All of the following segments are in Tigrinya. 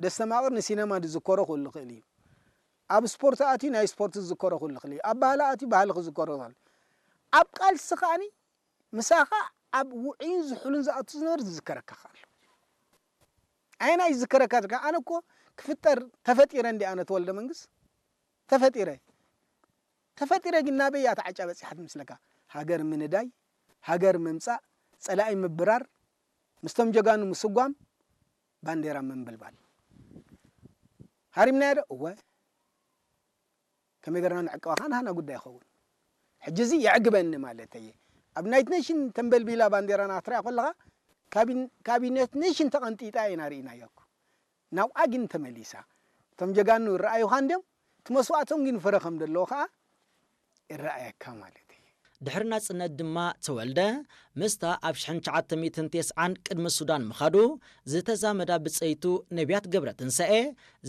ደስተማቕር ንሲነማ ዝዝከሮ ክህሉ ይኽእል እዩ። ኣብ ስፖርት ኣትዩ ናይ ስፖርት ዝዝከሮ ክህሉ ይኽእል እዩ። ኣብ ባህሊ ኣትዩ ባህሊ ክዝከሮ ይኽእል። ኣብ ቃልሲ ከኣኒ ምሳኻ ኣብ ውዑይን ዝሑልን ዝኣቱ ዝነበር ዝዝከረካ ኣሎ። ኣየናይ ዝዝከረካ ትካ? ኣነ እኮ ክፍጠር ተፈጢረ እንዲ ኣነ ተወልደ መንግስት ተፈጢረ። ተፈጢረ ግን ናበይ እያ ተዓጫ በጺሓት ምስለካ? ሃገር ምንዳይ፣ ሃገር ምምጻእ፣ ጸላኢ ምብራር፣ ምስቶም ጀጋኑ ምስጓም፣ ባንዴራ ምንብልባል። ሃሪምናዮ ዶ? እወ። ከመይ ገርና ንዕቅባ ከኣ ናህና ጉዳይ ይኸውን። ሕጂ እዚ የዕግበኒ ማለት እየ። ኣብ ናይት ኔሽን ተንበልቢላ ባንዴራና ክትሪኣ ከለኻ፣ ካቢን-፣ ካቢኔት ኔሽን ተቐንጢጣ ኢና ርኢናዮ እኮ። ናብኣ ግን ተመሊሳ። እቶም ጀጋኑ ይረኣዩኻ እንድዮም፣ እቲ መስዋእቶም ግን ፍረ ከም ዘለዎ ከኣ ይረኣየካ ማለት እዩ። ድሕሪ ናጽነት ድማ ተወልደ ምስታ ኣብ ሽሕን ትሽዓተ ሚእትን ተስዓን ቅድሚ ሱዳን ምኻዱ ዝተዛመዳ ብጸይቱ ነቢያት ገብረትንሳኤ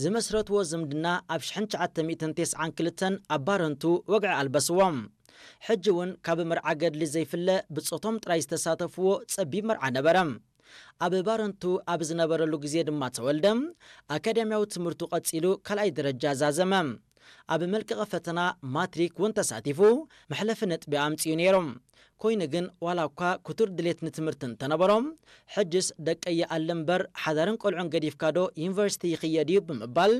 ዝመስረትዎ ዝምድና ኣብ ሽሕን ትሽዓተ ሚእትን ተስዓን ክልተን ኣብ ባረንቱ ወግዒ ኣልበስዎም። ሕጂ እውን ካብ መርዓ ገድሊ ዘይፍለ ብጾቶም ጥራይ ዝተሳተፍዎ ጸቢብ መርዓ ነበረ። ኣብ ባረንቱ ኣብ ዝነበረሉ ግዜ ድማ ተወልደ ኣካዳሚያዊ ትምህርቱ ቀጺሉ ካልኣይ ደረጃ ዛዘመ። ኣብ መልቀቒ ፈተና ማትሪክ እውን ተሳቲፉ መሕለፊ ነጥቢ ኣምጺኡ ነይሩ። ኮይኑ ግን ዋላ እኳ ክቱር ድሌት ንትምህርቲ እንተነበሮ፣ ሕጅስ ደቀይ ይኣሊ እምበር ሓዳርን ቆልዑን ገዲፍካ ዶ ዩኒቨርሲቲ ይኽየድ እዩ ብምባል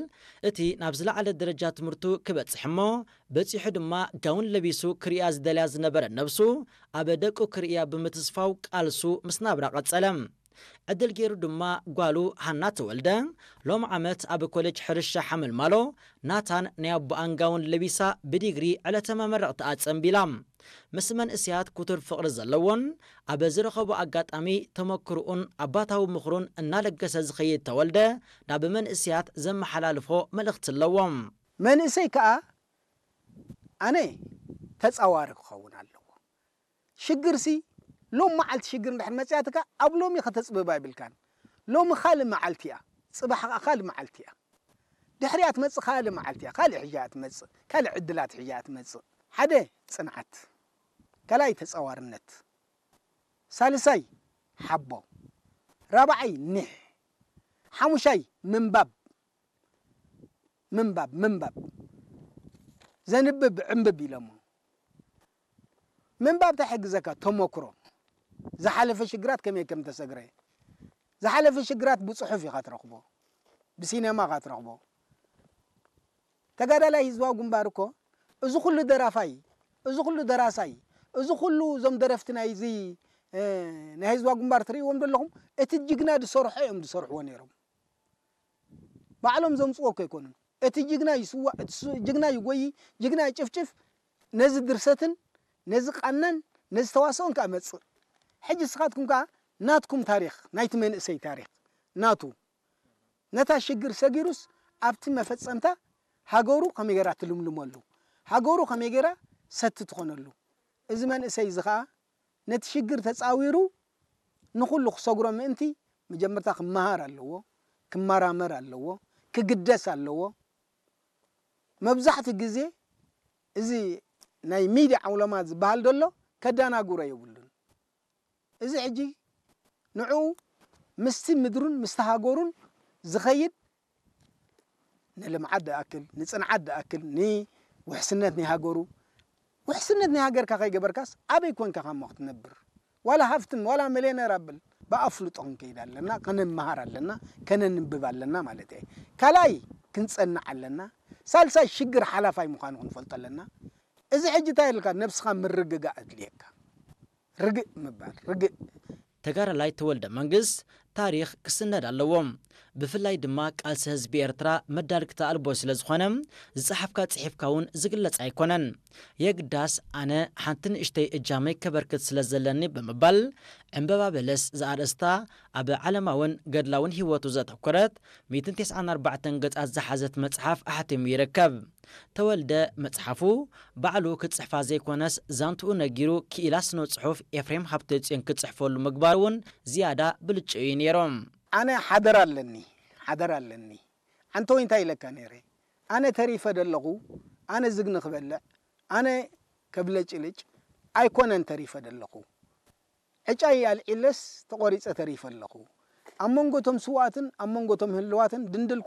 እቲ ናብ ዝለዓለ ደረጃ ትምህርቱ ክበጽሕ እሞ በጺሑ ድማ ጋውን ለቢሱ ክርእያ ዝደልያ ዝነበረ ነብሱ ኣብ ደቁ ክርእያ ብምትስፋው ቃልሱ ምስ ናብራ ቀጸለ። ዕድል ገይሩ ድማ ጓሉ ሃና ተወልደ ሎም ዓመት ኣብ ኮሌጅ ሕርሻ ሓመልማሎ ናታን ናይ ኣቦኣን ጋውን ለቢሳ ብዲግሪ ዕለተ መመረቕትኣ ጸንቢላ። ምስ መንእሰያት ክቱር ፍቕሪ ዘለዎን ኣብ ዝረኸቦ ኣጋጣሚ ተመክርኡን ኣባታዊ ምኽሩን እናለገሰ ዝኸይድ ተወልደ ናብ መንእሰያት ዘመሓላልፎ መልእኽቲ ኣለዎ። መንእሰይ ከኣ ኣነ ተጻዋሪ ክኸውን ኣለዎ። ሽግርሲ ሎም መዓልቲ ሽግር እንድሕር መጽያትካ ኣብ ሎሚ ከተጽብባ ይብልካን። ሎሚ ካልእ መዓልቲ እያ፣ ጽባሕ ከኣ ካልእ መዓልቲ እያ። ድሕሪኣ ትመጽእ ካልእ መዓልቲ እያ፣ ካልእ ሕጂ እያ ትመጽእ፣ ካልእ ዕድላት ሕጂ እያ ትመጽእ። ሓደ ጽንዓት፣ ካልኣይ ተጻዋርነት፣ ሳልሳይ ሓቦ፣ ራብዓይ ኒሕ፣ ሓሙሻይ ምንባብ፣ ምንባብ፣ ምንባብ። ዘንብብ ዕንብብ ኢሎሞ። ምንባብ እንታይ ይሕግዘካ? ተመክሮ። ዝሓለፈ ሽግራት ከመይ ከም ተሰግረ። ዝሓለፈ ሽግራት ብጽሑፍ ኢኻ ትረኽቦ። ብሲነማ ኢኻ ትረኽቦ። ተጋዳላይ ህዝባዊ ግንባር እኮ እዚ ኩሉ ደራፋይ፣ እዚ ኩሉ ደራሳይ፣ እዚ ኩሉ እዞም ደረፍቲ ናይዚ፣ እ፣ ናይ ህዝባዊ ግንባር ትርእይዎም ዘለኹም፣ እቲ ጅግና ዝሰርሖ እዮም ዝሰርሕዎ ነይሮም። ባዕሎም ዘምጽዎ እኮ ኣይኮኑን። እቲ ጅግና ይስዋእ፣ እቲ ሱ-፣ ጅግና ይጎዪ፣ ጅግና ይጭፍጭፍ፣ ነዚ ድርሰትን ነዚ ቃናን ነዚ ተዋስኦን ከኣ መጽእ። ሕጂ ንስኻትኩም ከኣ ናትኩም ታሪኽ፣ ናይቲ መንእሰይ ታሪኽ ናቱ፣ ነታ ሽግር ሰጊሩስ ኣብቲ መፈጸምታ ሃገሩ ከመይ ጌራ ትልምልመሉ፣ ሃገሩ ከመይ ጌራ ሰቲ ትኾነሉ። እዚ መንእሰይ እዚ ከኣ ነቲ ሽግር ተጻዊሩ ንኹሉ ክሰግሮ ምእንቲ መጀመርታ ክመሃር ኣለዎ፣ ክመራመር ኣለዎ፣ ክግደስ ኣለዎ። መብዛሕትኡ ግዜ እዚ ናይ ሚድያ ዓውለማ ዝበሃል ዘሎ ከደናግሮ የብሉን። እዚ ሕጂ ንዕኡ ምስቲ ምድሩን ምስቲ ሃገሩን ዝኸይድ ንልምዓት ዝኣክል፣ ንጽንዓት ዝኣክል፣ ንውሕስነት ናይ ሃገሩ፣ ውሕስነት ናይ ሃገርካ ከይገበርካስ ኣበይ ኮንካ ካሞ ክትነብር? ዋላ ሃፍትም፣ ዋላ ሚልዮነር ኣብል፣ ብኣፍልጦ ክንከይድ ኣለና፣ ከነመሃር ኣለና፣ ከነንብብ ኣለና ማለት እየ። ካልኣይ ክንጸንዕ ኣለና። ሳልሳይ ሽግር ሓላፋይ ምዃኑ ክንፈልጦ ኣለና። እዚ ሕጂ እንታይ ኢልካ ነብስኻ ምርግጋእ ኣድልየካ። ርግእ ምባል፣ ርግእ። ተጋዳላይ ተወልደ መንግስት ታሪኽ ክስነድ ኣለዎ። ብፍላይ ድማ ቃልሲ ህዝቢ ኤርትራ መዳርግቲ ኣልቦ ስለ ዝኾነ፣ ዝጸሓፍካ ጽሒፍካ እውን ዝግለጽ ኣይኮነን። የግዳስ ኣነ ሓንቲ ንእሽተይ እጃመይ ከበርክት ስለ ዘለኒ ብምባል፣ ዕምበባ በለስ ዝኣርእስታ ኣብ ዓለማውን ገድላውን ህይወቱ ዘተኮረት ሚእትን ተስዓን ኣርባዕተን ገጻት ዝሓዘት መጽሓፍ ኣሕቲሙ ይርከብ። ተወልደ መጽሓፉ ባዕሉ ክጽሕፋ ዘይኮነስ ዛንትኡ ነጊሩ ክኢላ ስነ ጽሑፍ ኤፍሬም ሃብተጽዮን ክጽሕፈሉ ምግባሩ እውን ዝያዳ ብልጭኡ እዩ ነይሩ። ኣነ ሓደራ ኣለኒ፣ ሓደራ ኣለኒ። ኣንቶይ እንታይ ኢለካ ነይረ? ኣነ ተሪፈ ደለኹ፣ ኣነ ዝግኒ ክበልዕ፣ ኣነ ከብለጭልጭ ኣይኮነን ተሪፈ ደለኹ። ዕጫይ ኣልዒለስ ተቖሪጸ ተሪፈ ኣለኹ። ኣብ መንጎ እቶም ስዉኣትን ኣብ መንጎ እቶም ህልዋትን ድንድል